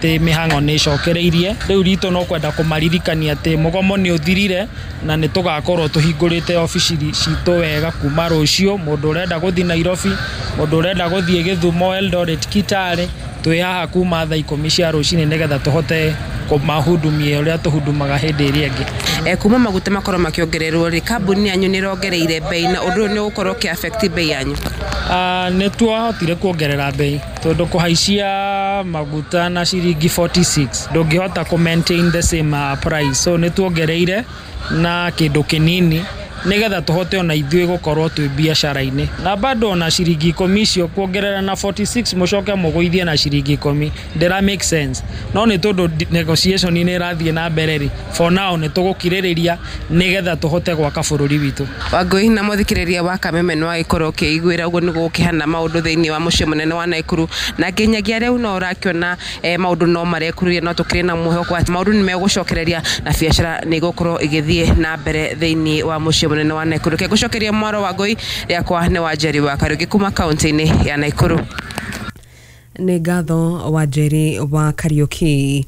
Atĩ mĩhang'o nĩ ĩcokereirie rĩu ritũ no kwenda kũmaririkania atĩ mũgomo nĩ ũthirire na nĩ tũgakorwo tũhingũrĩte obici citũ wega kuma rũciũ. Mũndũ ũrenda gũthiĩ Nairobi, mũndũ ũrenda gũthiĩ Gĩthumo, Eldoret, Kitale, twĩ haha kuma thaa 10 cia rũcinĩ nĩgetha tũhote kũmahudumia ũrĩa tũhudumaga hĩndĩ ĩrĩa ĩngĩ. Kuma maguta makorwo makĩongererwo rĩ, kambuni yanyu nĩ ĩrongereire bei, na ũndũ ũyũ nĩ ũgũkorwo ũkĩ affect bei yanyu? Nĩ twahotire kuongerera bei tondũ kũhaicia maguta na ciringi 46 ndũngĩhota kũ maintain the same price, so nĩ tuongereire na kĩndũ kĩnini nĩgetha tũhote ona ithuĩ gũkorwo twĩ biacara-inĩ, na bado ona ciringi 10 icio kuongerera na 46 mũcoke mũgũithie na ciringi 10 ndĩra make sense, no nĩ tondũ negotiation nĩ ĩrathiĩ na mbere rĩ, for now nĩ tũgũkirĩrĩria nĩgetha tũhote gwaka bũrũri witũ. Wangũi na mũthikĩrĩria wa Kameme, nĩ wagĩkorwo ũkĩiguĩra ũguo nĩguo gũkĩhana maũndũ thĩinĩ wa mũciĩ mũnene wa Naikuru, na nginyagia rĩu no ũrakĩona maũndũ no marekururia, no tũkĩrĩ na mwĩhoko atĩ maũndũ nĩ megũcokereria na biacara nĩ igũkorwo igĩthiĩ na mbere thĩinĩ wa mũciĩ mũnene wa Naikuru. Reke ngũcokeria mwaro Wangũi, rĩakwa nĩ Wanjeri wa Kariũki kuma kaunti-inĩ ya Naikuru. Nĩ ngatho, Wanjeri wa Kariũki.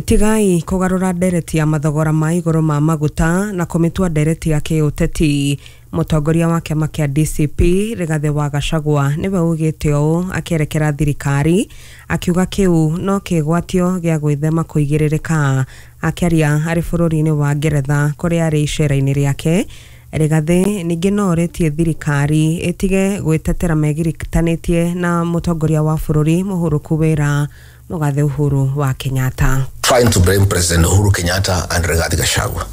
Tigai kũgarũra ndereti ya mathogora ma igũrũ ma maguta na kũmĩtua ndereti ya kĩũteti. Mũtongoria wa kĩama kĩa DCP Rigathĩ wa Gachagua nĩwe ugĩte ũũ akĩerekera thirikari, akiuga kĩu no kĩgwatio gĩa gwĩthema kũigĩrĩrĩka. Akĩaria arĩ bũrũri-inĩ wa Ngeretha kũrĩa arĩ icera-inĩ rĩake, Rigathĩ ningĩ no orĩtie thirikari ĩtige gwĩtetera megiritanĩtie na mũtongoria wa bũrũri mũhũrũku wĩra mũgathe Uhuru wa Kenyatta. Trying to blame President Uhuru Kenyatta and Rigathi Gachagua.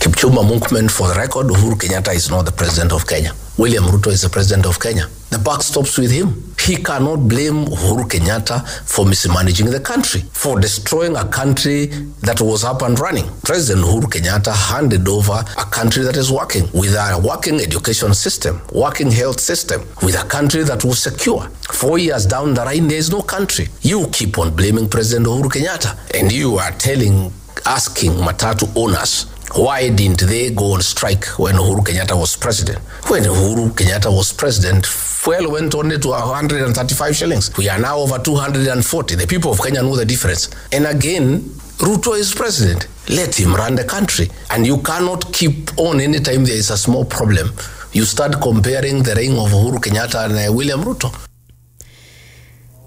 Kipchumba Murkomen, for the record, Uhuru Kenyatta is not the president of Kenya. William Ruto is the president of Kenya. The buck stops with him. He cannot blame Uhuru Kenyatta for mismanaging the country, for destroying a country that was up and running. President Uhuru Kenyatta handed over a country that is working, with a working education system, working health system, with a country that was secure. 4 years down the line, there is no country. You keep on blaming President Uhuru Kenyatta, and you are telling, asking Matatu owners, why didn't they go on strike when Uhuru Kenyatta was president? When Uhuru Kenyatta was president, fuel went only to 135 shillings. We are now over 240. The people of Kenya know the difference. And again, Ruto is president. Let him run the country. And you cannot keep on anytime there is a small problem. You start comparing the reign of Uhuru Kenyatta and William Ruto.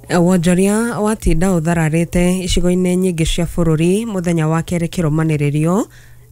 Wonjoria watinda ũthararĩte icigo-inĩ nyingĩ cia bũrũri mũthenya wa kerĩ kĩrũmanĩrĩrio,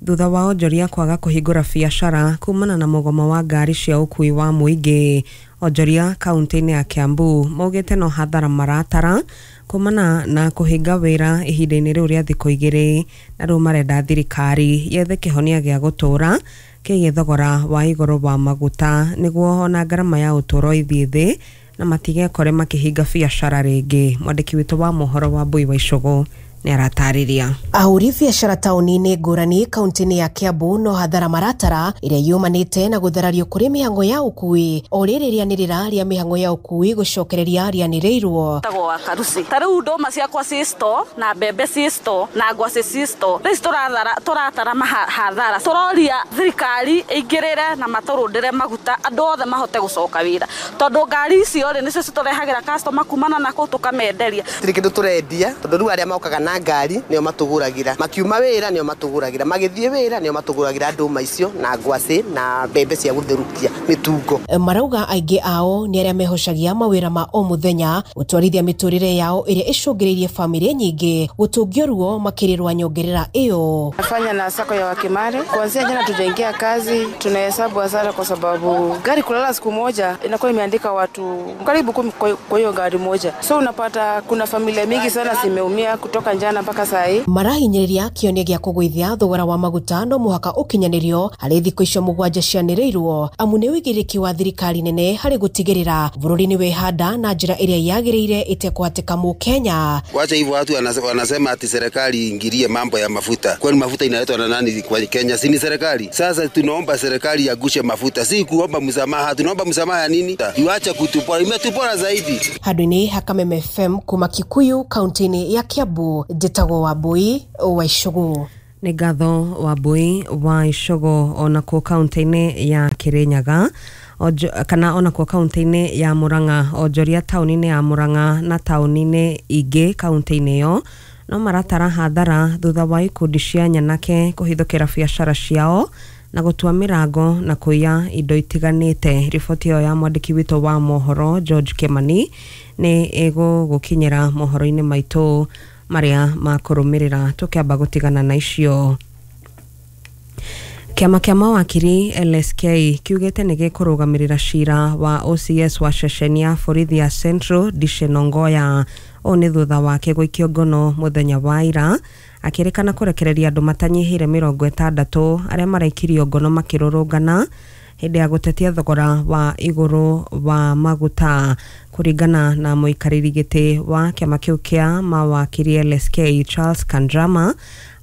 thutha wa onjoria kwaga kũhingũra biacara kumana na mũgomo wa ngari cia ũkui wa mũingĩ. Onjoria kaunti-inĩ ya Kiambu maugĩte no hathara maratara kumana na kũhinga wĩra ihinda-inĩ rĩu rĩa thikũ 2, na rĩu marenda thirikari yethe kĩhonia gĩa gũtũũra kĩgiĩ thogora wa igũrũ wa maguta nĩguo ona ngarama ya ũtũũro ĩthiĩ thĩ na matigekore makĩhinga biacara rĩngĩ. Mwandĩki witũ wa mohoro wa Mbui wa Icũgũ nĩ aratarĩria. Ahũri biacara taũni-inĩ ngũrani kaunti-inĩ ya Kiambu no hathara maratara ĩrĩa yumanĩte na gũtharario kũrĩ mĩhang'o ya ũkui o rĩrĩ rĩanĩrĩra rĩa mĩhang'o ya ũkui gũcokereria rĩanĩrĩirwo. Tagwo wa Karusi. Ta rĩu ndũma ciakwa ci store na mbembe ci store na ngwacĩ ci store. Rĩu tũrathara tũratara hathara. Tũroria thirikari ĩingĩrĩre na matũrũndĩre maguta andũ othe mahote gũcoka wĩra. Tondũ ngari icio rĩ nĩcio citũrehagĩra customer kumana na kũu tũkamenderia. Tirĩ kĩndũ tũrendia tondũ rĩu arĩa mokaga na ngari nĩo matũgũragĩra, makiuma wĩra nĩo matũgũragĩra, magĩthiĩ wĩra nĩo matũgũragĩra ndũma icio na ngwacĩ na mbembe cia gũtherũkia mĩtungo. Marauga aingĩ ao nĩ arĩa mehocagia mawĩra ma o mũthenya gũtwarithia mĩtũrĩre yao ĩrĩa ĩcũngĩrĩirie bamĩrĩ nyingĩ gũtũngio ruo makĩrĩrwa nyongerera ĩyo. Nafanya na sako ya Wakimare. Kuanzia jana tujaingia kazi, tunahesabu hasara kwa sababu gari kulala siku moja inakuwa imeandika watu karibu 10 kwa hiyo gari moja, so unapata kuna familia mingi sana zimeumia kutoka jana mpaka saa hii. Marahinyĩrĩria kĩonia gĩa kũgũithia thogora wa maguta no mũhaka ũkinyanĩrio harĩ thikũ icio 7 cianĩrĩirwo, amu nĩ ũigĩrĩrĩki wa thirikari nene harĩ gũtigĩrĩra bũrũri nĩ wehanda na njĩra ĩrĩa yagĩrĩire ĩtekũhatĩka mũkenya. Wacha hivyo, watu wanasema ati serikali iingilie mambo ya mafuta. Kwani mafuta inaletwa na nani kwa Kenya? Si ni serikali? Sasa tunaomba serikali yagushe mafuta, si kuomba msamaha. Tunaomba msamaha ya nini? Iwache kutupora, imetupora zaidi. Handũ-inĩ ha Kameme FM kuma Kikuyu kaunti-inĩ ya Kiambu, njĩtagwo Wambui wa Icũgũ. Nĩ ngatho, Wambui wa Icũgũ. Onakuo kaunti-inĩ ya Kĩrĩnyaga, kana onakuo kaunti-inĩ ya Murang'a, onjoria taũni-inĩ ya Murang'a na taũni-inĩ ingĩ kaunti-inĩ ĩyo no maratara hathara thutha wa ikundi cia nyanake kũhithũkĩra biacara ciao na gũtua mĩrango na kũiya indo itiganĩte. Riboti ĩyo ya mwandĩki witũ wa mohoro George Kimani nĩ ĩgũgũkinyĩra mohoro-inĩ maitũ marĩa makũrũmĩrĩra. Tũkĩamba gũtigana na icio, kĩama kĩa mawakiri LSK kiugĩte nĩ gĩkũrũgamĩrĩra cira wa OCS wa ceceni ya borithi ya Central Dickson Ongoya. Ũũ nĩ thutha wake gũikio ngono mũthenya wa ira akĩrĩkana kũrekereria andũ matanyihĩire 60 arĩa maraikirio ngono makĩrũrũngana hĩndĩ ya gũtetia thogora wa igũrũ wa maguta. Kũringana na mũikarĩri gĩtĩ wa kĩama kĩu kĩa mawakiri LSK Charles Kandrama,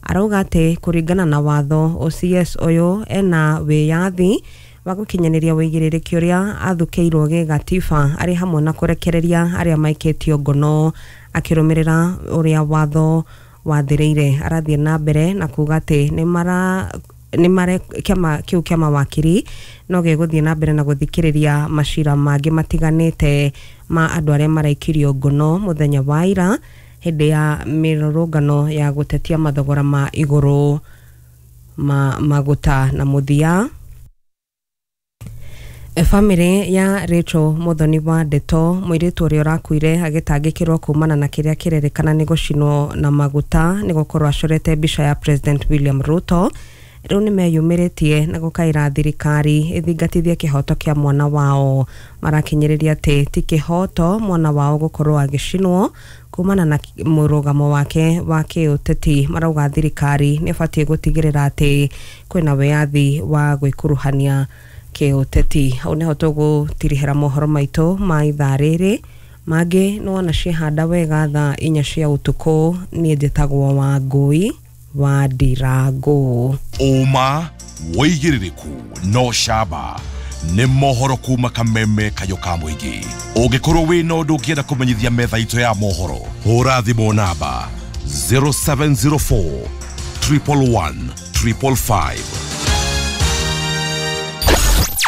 arauga atĩ kũringana na watho OCS ũyũ ena wĩyathi wa gũkinyanĩria wĩigĩrĩrĩki ũrĩa athukĩirwo gĩgatiba arĩ hamwe na kũrekereria arĩa maikĩtio ngono akĩrũmĩrĩra ũrĩa watho wathĩrĩire. Arathiĩ na mbere na kuga atĩ nĩ kĩama kĩu kĩa mawakiri no gĩgũthiĩ na mbere na gũthikĩrĩria macira mangĩ matiganĩte ma andũ arĩa maraikirio ngono mũthenya wa ira hĩndĩ ya mĩrũrũngano ya gũtetia mathogora ma igũrũ ma maguta. Na mũthia, bamĩrĩ ya Rachel Muthoni wa Ndeto, mũirĩtu ũrĩa ũrakuire agĩtangĩkĩrwo kumana na kĩrĩa kĩrerĩkana nĩ gũcinwo na maguta nĩ gũkorwo acorete mbica ya President William Ruto, rĩu nĩ meyumĩrĩtie na gũkaĩra thirikari ĩthingatithie kĩhoto kĩa mwana wao. Marakinyĩrĩria atĩ ti kĩhoto mwana wao gũkorwo agĩcinwo kumana na mũrũgamo wake wa kĩũteti. Marauga thirikari nĩ ĩbatiĩ gũtigĩrĩra atĩ kwĩna wĩyathi wa gwĩkuruhania kĩũteti. Hau nĩho tũgũtirihĩra mohoro maitũ ma ithaa rĩrĩ, mangĩ nĩ wona ciehanda wega thaa 4 cia ũtukũ. Niĩ njĩtagwo Wangũi wa Ndirango. Ũma wĩigĩrĩrĩku no camba nĩ mohoro kuma Kameme Kayo ka mũingĩ. Ũngĩkorwo wĩna ũndũ ũngĩenda kũmenyithia metha itũ ya mohoro, hũra thimũ namba 0704 111 555.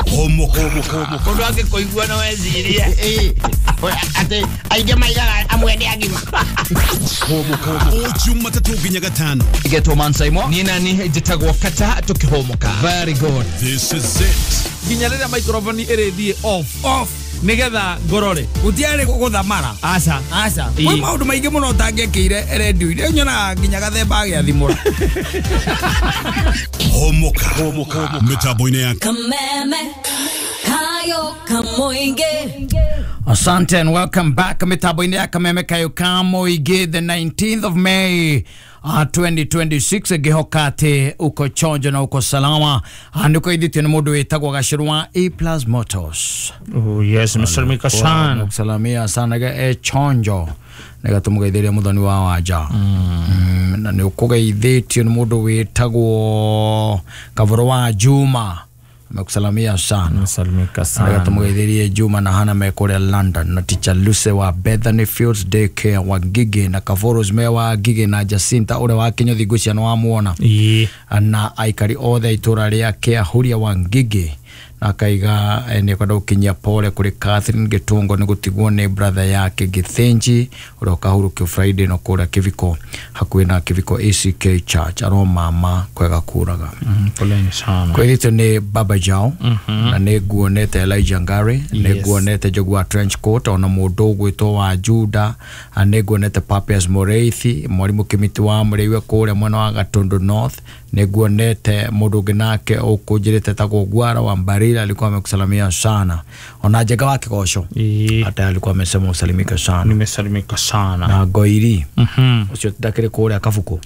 Mũndũ angĩkũigua no ecirie atĩ aingĩ maigaga amwe nĩ agima. O Jumatatũ nginya Gatano. Getwo Mansaimo niĩ nani njĩtagwo Kata tũkĩhũmũka. Very good. This is it. Nginya rĩrĩa microphone ĩrĩthiĩ off nigetha ngorore gutiarĩ gũthamara. Aca aca, kwĩ maũndũ maingĩ mũno ũtangĩekĩire redio-inĩ, nyonaga nginya gathemba agĩathimũra. Homoka mĩtambo-inĩ ya Kameme Kayo Kamoinge. Asante and welcome back mitambo-inĩ ya Kameme Kayo Kamoinge, the 19th of May 2026. Ngĩhoka atĩ uko chonjo na uko salama. Nĩkũgeithĩtio nĩ mũndũ wĩtagwo Gacĩrũ wa A Plus Motors. Oh yes, Mr. Mikasan. Nakusalamia sana ga e chonjo nĩgatũmũgeithĩria mũthoni wa wanja. Na nĩ ũkũgeithĩtio nĩ mũndũ wĩtagwo Kavoro wa Juma, amekusalamia sana. Nasalimika sana. Nĩgatũmũgeithĩrie Juma na Hana me kũrĩa London, na teacher Luce wa Bethany Fields Daycare wa Ngigĩ, na Kavoros me wa Ngigĩ, na Jacinta ũrĩa wa Kĩnyũthi ngwĩciria nĩ wamuona, na aikari othe a itũra rĩa Kĩahuria wa Ngigĩ. Na akaiga nĩ kwenda gũkinyia pole kũrĩ Catherine Gĩtũngo nĩ gũtigwo nĩ brother yake Gĩthĩnji ũrĩa ũkahurũkio Friday no kũrĩa Kĩbiko hakuhĩ na Kĩbiko ACK Church. Aro mama kwega kũraga. Poleni sana. Kwĩrĩtwo nĩ Baba Jao, na nĩ nguonete Elijah Ngari, nĩ nguonete Njogu wa trench coat, ona mũndũ ũgwĩtwo wa Juda, nĩ nguonete Papias Moreithi, mwarimũ Kĩmiti wa Mũrĩiwe kũrĩa mwena wa Gatundu North, nĩ nguonete mũndũ ũngĩ nake ũkũnjĩrĩte tagwo Gwara wa Mbarira, alikuwa amekusalimia sana. Ona Njenga wa Kĩgoco hata alikuwa amesema usalimike sana. Nimesalimika sana. Na Ngoiri ũcio ndakĩrĩ kũrĩa Kabuku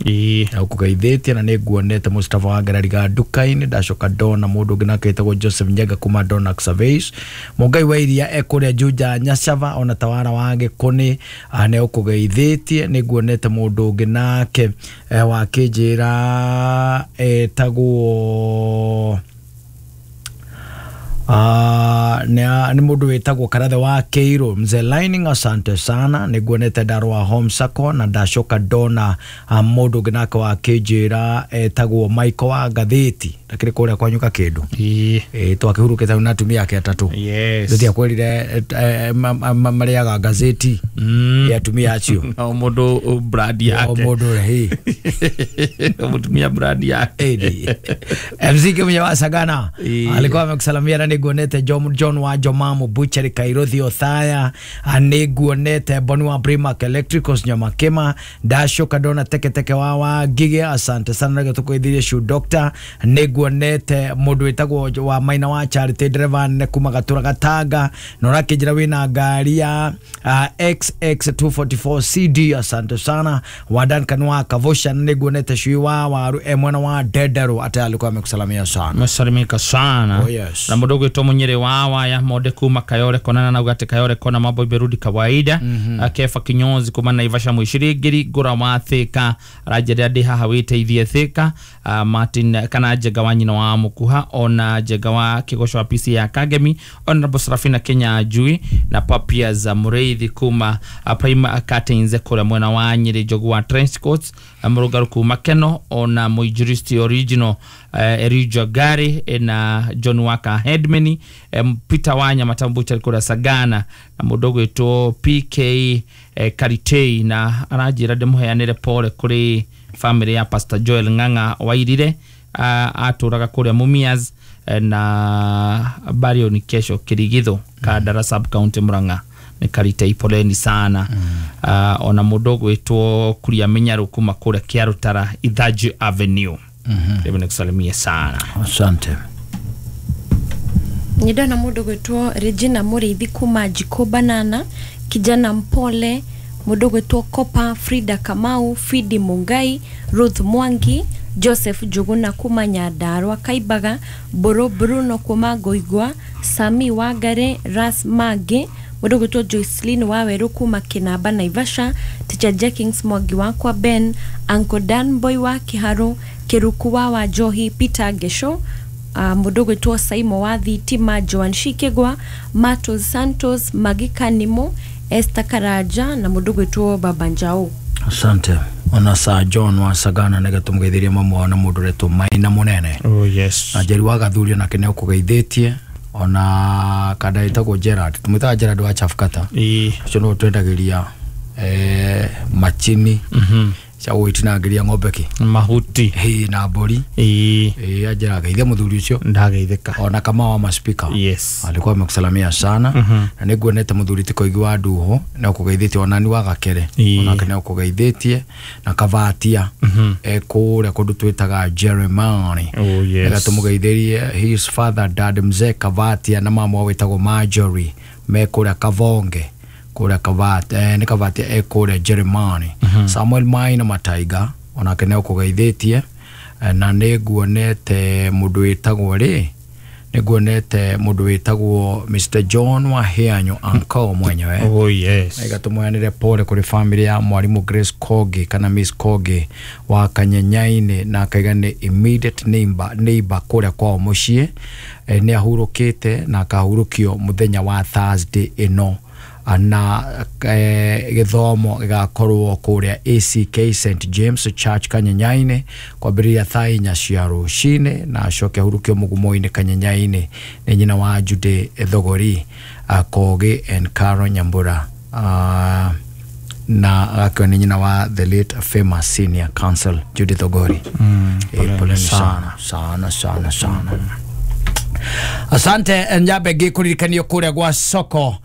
na ũkũgeithĩtie, na nĩ nguonete Mustafa wa Ngerariga nduka-inĩ. Ndacoka ndona mũndũ ũngĩ nake wĩtagwo Joseph Njenga kuma Donax Surveys, Mũngai wa Iria e kũrĩa Juja Nyacava, ona Tawara wa Gĩkũnĩ nĩ ũkũgeithĩtie. Nĩ nguonete mũndũ ũngĩ nake wakĩnjĩra etagwo Nĩ mũndũ wĩtagwo Karathe wa Keiru mzee Lining, asante sana. Nĩ nguonete Ndarwa Home Sacco na ndacoka ndona mũndũ ũngĩ nake wa kĩnjĩra etagwo Michael wa Ngathĩti ndakĩrĩ kũrĩa kwanyuka kĩndũ twakĩhurũkĩte na atumia ake atatũ. Yes. Tũtiakwĩrire marĩaga gazeti ya atumia acio. O mũndũ brand yake. O mũndũ hĩ. Mũtumia brand yake. MC Kimunya wa Sagana alikuwa amekusalamia na nĩnguonete John wa Jomamu Butchery Kairothi Othaya, nĩnguonete Boni wa Primark Electricals Nyamakema, ndacoka ndona teketeke wa Ngige, asante sana nĩguo tũkwĩthirie Shoe Doctor, nĩnguonete mũndũ wĩtagwo wa Maina wa Charity driver nene kuma Gatura Gatanga na ũrakĩnjĩra wĩna ngari ya XX244 CD, asante sana wa Duncan wa Kavosha, nĩnguonete Cui wa Waru mwana wa Dedero ate alikuwa amekusalamia sana. Amesalimika sana. Oh, yes. Na mũndũ ũgwĩtwo Mũnyĩrĩ wa Waya Monde kuma Kayore Kona na ugate Kayore Kona mambo imerudi kawaida. Kefa Kinyonzi kuma Naivasha Mwishirigiri Ngũra wa Thika aranjĩra ndĩ haha wĩteithie Thika. Martin kana Njega wa nyina wa Mukuha ona Njega wa Kĩgoco wa PC ya Kagemi Honorable Serafina Kenya Njui na Papia za Mũrĩithi kuma Prime Curtains kũrĩa mwena wa Nyĩrĩ Njogu wa Trench Coats Mũrũngarũ kuma Keno ona Mũinjilisti Original Erija Gari na John Waka Headman Peter Wanya Matambucha kura Sagana na mũndũ ũgwĩtwo PK Karitei na aranjĩra ndĩmũheanĩre pole kũrĩ family ya Pastor Joel Ng'ang'a Wairire atũraga kũrĩa Mumias na bario ni kesho Kirigitho Kandara sub county Murang'a nĩ Karitei poleni sana. Ona mũndũ ũgwĩtwo Kuria Minyaru kuma kũrĩa Kĩarũtara Ithanju Avenue. Hebu nikusalimie sana. Asante. Nindona mundu gwitwo Regina Muriithi kuma Jiko Banana, kijana mpole, mundu gwitwo Kopa Frida Kamau, Fidi Mungai, Ruth Mwangi, Joseph Njuguna kuma Nyandarua Kaibaga, Boro Bruno kuma Ngoigwa, Sami Wangare, Ras Mange, mundu gwitwo Joycelyn Waweru kuma Kinamba Naivasha, Teacher Jenkins Mwangi wakwa Ben, Uncle Dan Boy wa Kiharu, Kiruku wa Wajohi, Peter Gesho, mundu gwitwo Saimo wa Thitima, Joan Shikegwa, Matos Santos, Magika Nimo, Esther Karaja na mundu gwitwo Baba Njau. Asante. Ona Sir John wa Sagana nĩgetha tũmũgeithirie mamu wao na mũndũ ũretwo Maina Mũnene. Oh yes. Na Njeri wa Gathurio nake nĩũkũgeithĩtie ona kada ĩtagwo Gerard, tũmwĩtaga Gerard wa Chafkata. Ũcio nĩwe twendagĩria machini cia gũgĩtinangĩria ng'ombe kĩ mahuti na mbũri. Anjĩra geithia mũthuri ũcio ndageithĩka. Ona Kamau wa maspika. Yes. Alikuwa amekusalamia sana. Na nĩnguonete mũthuri ti Koigi wa Nduho nĩũkũgeithĩtie ona ni wa Gakere onake nĩũkũgeithĩtie na Kavatia kũrĩa kũndũ twĩtaga Jeremani. Oh yes. Nĩgetha tũmũgeithĩrie his father dad mzee Kavatia na mama wao wĩtagwo Marjorie me kũrĩa Kavonge kũrĩa Kavatia nĩ Kavatia kũrĩa Jeremani. Samuel Maina Mataiga onake nĩũkũgeithĩtie na nĩnguonete mũndũ wĩtagwo rĩ nĩnguonete mũndũ wĩtagwo Mr John Wahianyo uncle mwenyewe. Oh yes. Nĩgetha tũmũheanĩre pole kũrĩ family ya mwarimũ Grace Kogi kana Miss Kogi wa Kanyenyainĩ na akaiga nĩ immediate neighbor kũrĩa kwao mũciĩ. Nĩ ahurũkĩte na akahurũkio mũthenya wa Thursday ĩno na gĩthomo gĩgakorwo kũrĩa ACK St James Church Kanyenyainĩ kwambĩrĩria thaa 4 cia rũcinĩ na acoke ahurũkio mũgumo-inĩ Kanyenyainĩ nĩ nyina wa Jude Thogori Kogi and Caro Nyambura na akiwa nĩ nyina wa the late famous senior counsel Jude Thogori. Poleni sana sana sana sana. Asante. Njabe ngĩkũririkanio kũrĩa gwa soko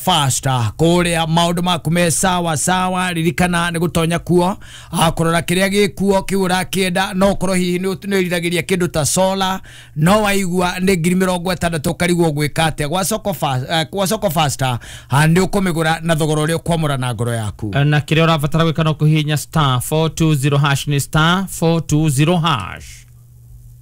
faster kũrĩa maũndũ maku me sawa sawa, ririkana nĩ gũtonya kuo kũrora kĩrĩa gĩkuo kĩu ũrakĩenda no ũkorwo hihi nĩ wĩriragĩria kĩndũ ta solar no waigua nĩ 60,000 ũkarigwo gwĩka atĩa. Gwa soko faster nĩ ũkũmĩgũra na thogora ũrĩa ũkwamũra na ngoro yaku na kĩrĩa ũrabatara gwĩka no kũhihinya star 420 hash nĩ star 420 hash.